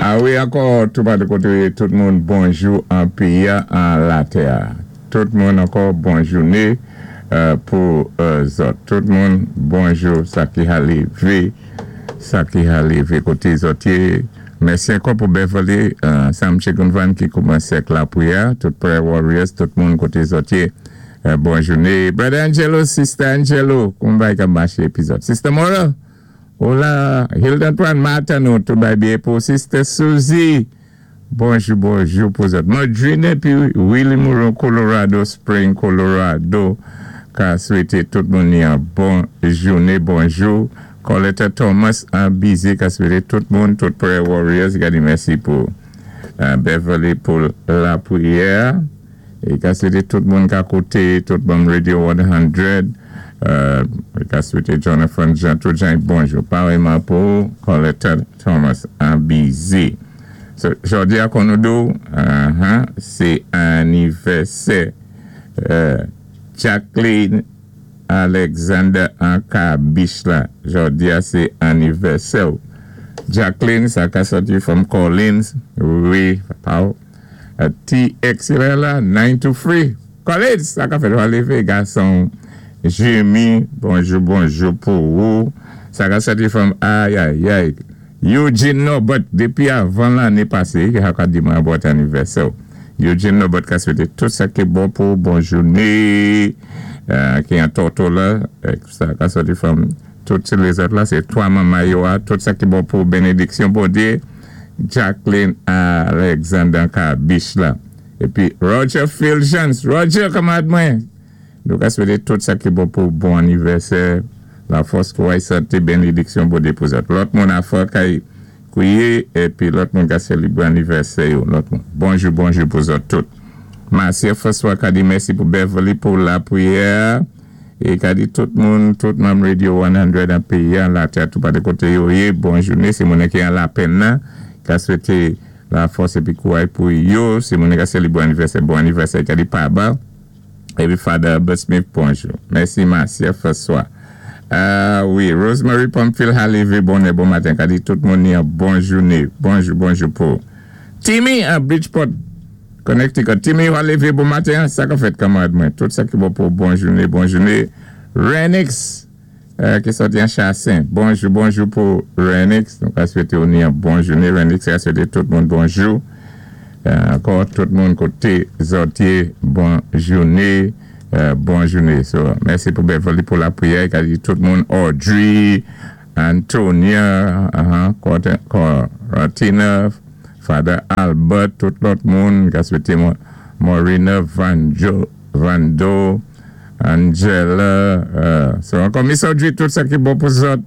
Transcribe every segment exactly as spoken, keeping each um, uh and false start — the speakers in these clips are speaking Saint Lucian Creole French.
A wi, ankò, tou pa de koté, tout moun, bonjou an péyi, an latè. Tout moun ankò, bon jouné euh, pou euh, zòt. Tout moun, bonjou, sa ki a lévé, sa ki a lévé koté zòt yé. Mèsi ankò pou Beverly, euh, Sam Chikunvan ki koumansé ak lapwiyè, tout Prayer Warriors, tout moun koté zòt yé. Euh, bon jouné. Brother Angelo, Sister Angelo, kouman bagay ka maché pi zòt. Sister Mora, Hola, Hilda Antoine Martin, nou tout bay byen pou Sister Suzy. Bonjou, bonjou pou zòt. Madrine épi Willie Moreau, Colorado Spring, Colorado, ka swété tout moun yon bon jouné, bonjou. Coletta Thomas an Bize, ka swété tout moun, tout Prayer Warriors, ka di mèsi pou euh, Beverly pou lapwiyè. É ka swété tout moun ka kouté, tout moun Radio san, euh, ka swété Jonathan Jean, tout jan bonjou. Parèyman pou Coletta Thomas an Bize. So, jòdi a kon nou di, uh-huh, sé anivèsè euh, Jacqueline Alexander an Kabich la. Jòdi a sé anivèsè. Jacqueline, sa ka sòti from Collins. Wi, pa uh, T X la, nine two three. Collins, sa ka fèt lévé, gason. Jimmy, bonjou, bonjou pou ou. Sa ka sòti from, ay, ay, ay. Eugene Norbert, dépi avan lanné pasé, ki a di mwen bon anivèsè. Eugene Norbert ka swété tout sa ki bon pou bon jouné, euh, ki an Tortola, sa ka sòti from tout lèzòt la, sé twa manman yo, tout sa ki bon pou bénédiksyon Bondyé, Jacqueline Alexander Kabich la. Épi Roger Phil Jones, Roger, kanmarad mwen, nou ka swété tout sa ki bon pou bon anivèsè, lafòs, kouray, santé, bénédiksyon Bondyé pou zòt. Lòt moun a fò kay kwiyé, épi lòt moun ka sélébré anivèsè yo, lòt moun. Bonjou, bonjou pou zòt tout. Marcia François ka di mèsi pou Beverly pou lapwiyè, é ka di tout moun, tout manm Radio san an péyi, an latè, tou pa de koté yo yé, bon jouné, sé moun ki an lapenn nan, ka swété lafòs épi kouray pou yo, sé moun ka sélébré anivèsè, bon anivèsè, ka di pa ba, épi Father Albert Smith, bonjou. Mèsi Marcia François. Ah wi, Rosemary Pamphile a lévé bonè bon maten, ka di tout moun yon bon jouné, bonjou, bonjou pou Timmy à Bridgeport, Connecticut. Timmy a lévé bon maten, sa ka fèt kanmarad mwen. Tout sa ki bon pou bon jouné, bon jouné. Renix, euh, ki sòti an Chassin. Bonjou, bonjou pou Renix. Donk, a swété ou yon bon jouné. Renix a swété tout moun bonjou. Euh, ankò, tout moun koté zòt yé, bon jouné. Euh, bon jouné. So, mèsi pou Beverly pou lapwiyè. Ka di tout moun Audrey, Antonia, uh-huh, Coratina, Father Albert, tout lòt moun, ka swété Morina, Vanjo, Vando, Angela, euh, so ankò Miss Audrey, tout sa ki bon pou zòt,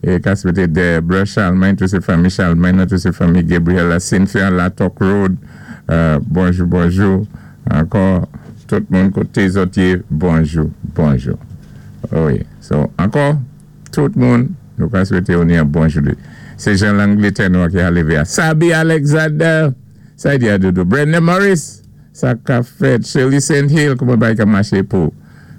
é ka swété Deborah Charlemagne, tout sé fanmi Charlemagne, tout sé fanmi Gabriela Cynthia, Latok Road, euh, bonjou, bonjou, ankò, tout moun koté zòt yé, bonjou, bonjou. Wi, so, ankò, tout moun, nou ka swété ou yon bon jouné. Sé jan Langlétè nou ki a lévé. Sabi Alexander, sa di a doudou. Brenda Morris, sa ka fèt. Shirley Saint Hill, kouman bagay ka maché pou.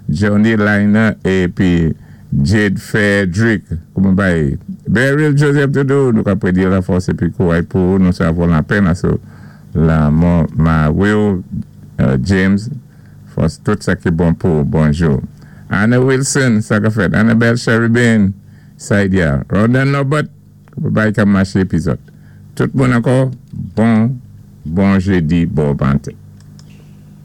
Johnny Liner épi Jade Frederick, kouman bagay. Beryl Joseph doudou, nou ka prédi lafòs épi kouray pou nou savon lapenn asou lanmò mari ou, euh, James, fòs tout sa ki bon pou, bonjou. Anna Wilson, sa ka fèt. Annabelle Sheridan, Saidia. Rodan Norbert, bagay ka maché pi zòt. Tout moun ankò, bon, bon jédi, bon maten.